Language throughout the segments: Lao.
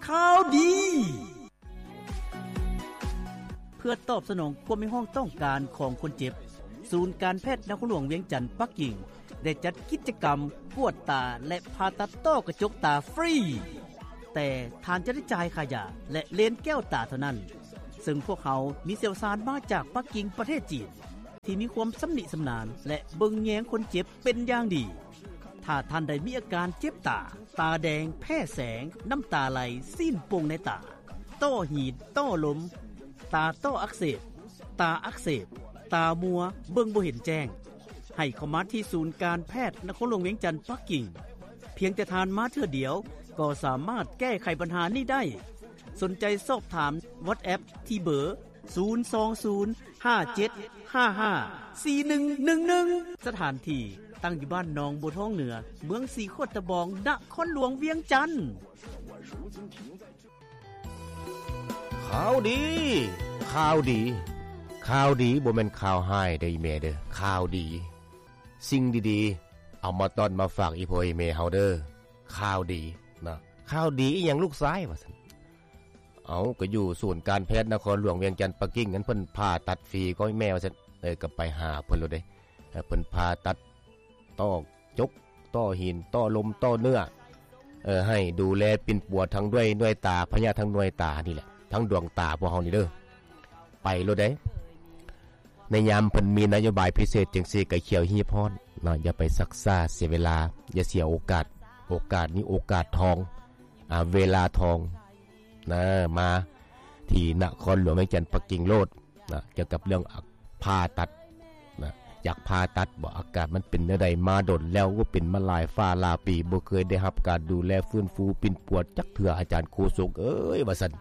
ຂ່າວດີ. ເພື່ອຕອບສະໜອງຄວາມຮຽກຮ້ອງຕ້ອງການຂອງຄົນເຈັບ, ສູນການແພດນະຄອນຫຼວງວຽງຈັນປັກກິ່ງ ໄດ້ຈັດກິດຈະກຳກວດຕາ ແລະ ຜ່າຕັດຕ້ອກະຈົກຕາຟຣີ, ແຕ່ທ່ານຈະໄດ້ຈ່າຍຄ່າຢາ ແລະ ເລນແກ້ວຕາເທົ່ານັ້ນ, ເຊິ່ງພວກເຮົາມີຊ່ຽວຊານມາຈາກປັກກິ່ງ ປະເທດຈີນ ທີ່ມີຄວາມຊຳນິຊຳນານ ແລະ ເບິ່ງແຍງຄົນເຈັບເປັນຢ່າງດີ. ຖ້າທ່ານໃດມີອາການເຈັບຕາ, ຕາແດງ, ແພ້ແສງ, ນ້ຳຕາໄຫຼ, ຊີ້ນປົ່ງໃນຕາ, ຕ້ອຫີນ, ຕ້ລົມ, ຕາຕ້ອອັກເສບ, ຕາອັກເສບ, ຕາມົວ, ເບິ່ງບໍ່ເຫັນແຈ້ງ, ໃຫ້ເຂົ້າມາທີ່ສູນການແພດນະຄອນຫຼວງວຽງຈັນປັກກິ່ງ. ພຽງແຕ່ທ່ານມາເທື່ອດຽວ ກໍສາມາດແກ້ໄຂບັນຫານີ້ໄດ້. ສົນໃຈສອບຖາມ WhatsApp ທີ່ເບີ ສູນສອງສູນ ຫ້າເຈັດຫ້າຫ້າ ສີ່ໜຶ່ງໜຶ່ງໜຶ່ງ. ສະຖານທີ່ຕັ້ງຢູ່ບ້ານໜອງບົວທອງເໜືອ, ເມືອງສີໂຄດຕະບອງ, ນະຄອນຫຼວງວຽງຈັນ. ຂ່າວດີ ຂ່າວດີ ຂ່າວດີ ບໍ່ແມ່ນຂ່າວຮ້າຍເດີອີ່ແມ່ເດີ, ຂ່າວດີ. ສິ່ງດີໆ ເອົາມາຕ້ອນມາຝາກອີ່ພໍ່ອີ່ແມ່ເຮົາເດີ. ຂ່າວດີນະ. ຂ່າວດີອີ່ຫຍັງລູກຊາຍ ວ່າຊັ້ນ. ເອົາ ກໍຢູ່ສູນການແພດນະຄອນຫຼວງວຽງຈັນປັກກິ່ງນັ້ນ ເພິ່ນຜ່າຕັດຟຣີກໍແມ່ວ່າຊັ້ນ. ເອີ ກໍໄປຫາເພິ່ນໂລດເດ້. ເອີ ເພິ່ນຜ່າຕັດຕ້ອກຈົກ, ຕ້ຫີນ, ຕ້ລົມ, ຕ້ເນື້ອ, ເອີ ໃຫ້ດູແລປິ່ນປົວທັງດ້ວຍໜ່ວຍຕາ, ພະຍາດທັງໜ່ວຍຕານີ້ແຫຼະ, ທັງດວງຕາພວກເຮົານີ້ເດີ. ໄປໂລດເດ້. ໃນຍາມເພິ່ນມີນະໂຍບາຍພິເສດຈັ່ງຊີ້ ກໍຂຽວຮີບຮ້ອນເນາະ, ຢ່າໄປຊັກຊ້າເສຍເວລາ, ຢ່າເສຍໂອກາດ. ໂອກາດນີ້ໂອກາດທອງ, ອາ, ເວລາທອງນະ. ມາທີ່ນະຄອນຫຼວງວຽງຈັນປັກກິ່ງໂລດນະ, ກ່ຽວກັບເລື່ອງ ອາ, ຜ່າຕັດນະ. ຢາກຜ່າຕັດບໍ່? ອາການມັນເປັນແນວໃດ? ມາດົນແລ້ວ, ໂອ້, ເປັນມາຫຼາຍຟ້າຫຼາຍປີ, ບໍ່ເຄີຍໄດ້ຮັບການດູແລຟື້ນຟູປິ່ນປົວຈັກເທື່ອ, ອາຈານໂຄສົກເອີຍ ວ່າຊັ້ນ.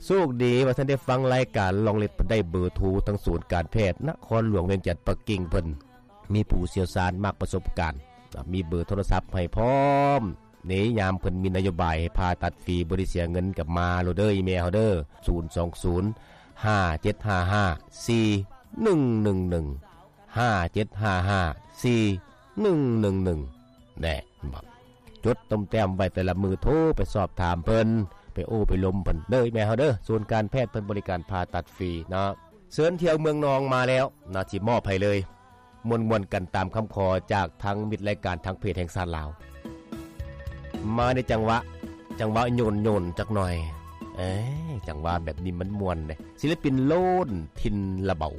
ໂຊກດີວ່າທ່ານໄດ້ຟັງລາຍການລອງເລັດ ໄດ້ເບີໂທທາງສູນການແພດນະຄອນຫຼວງວຽງຈັນປັກກິ່ງເພິ່ນ ມີຜູ້ຊ່ຽວຊານມາກປະສົບການ, ມີເບີໂທລະສັບໃຫ້ພ້ອມ. ໃນຍາມເພິ່ນມີນະໂຍບາຍໃຫ້ຜ່າຕັດຟຣີ ບໍ່ໄດ້ເສຍເງິນ ກໍມາໂລດເດີ ອີ່ແມ່ເຮົາເດີ, ສູນສອງສູນ ຫ້າເຈັດຫ້າຫ້າ ສີ່ໜຶ່ງໜຶ່ງໜຶ່ງ ຫ້າເຈັດຫ້າຫ້າ ສີ່ໜຶ່ງໜຶ່ງໜຶ່ງ. ແນ່ ເຫັນບໍ່? ຈົດຕົມແຕ້ມໄວ້ແຕ່ລະມື້, ໂທໄປສອບຖາມເພິ່ນ, ໄປໂອ້ໄປລົມເພິ່ນເດີ ແມ່ເຮົາເດີ. ສູນການແພດເພິ່ນບໍລິການຜ່າຕັດຟຣີເນາະ. ເຊີນທ່ຽວເມືອງນອງມາແລ້ວນະ, ຊິມອບໃຫ້ເລີຍ. ມ່ວນໆກັນຕາມຄຳຂໍຈາກທາງມິດລາຍການທາງເພຈແຫ່ງຊາດລາວ. ມາໃນຈັງຫວະ, ຈັງຫວະໂຍນໆຈັກໜ່ອຍ. ເອີ ຈັງຫວະແບບນີ້ມັນມ່ວນເດ້. ສິລະປິນໂລນ ຖິ່ນລະເບົາ.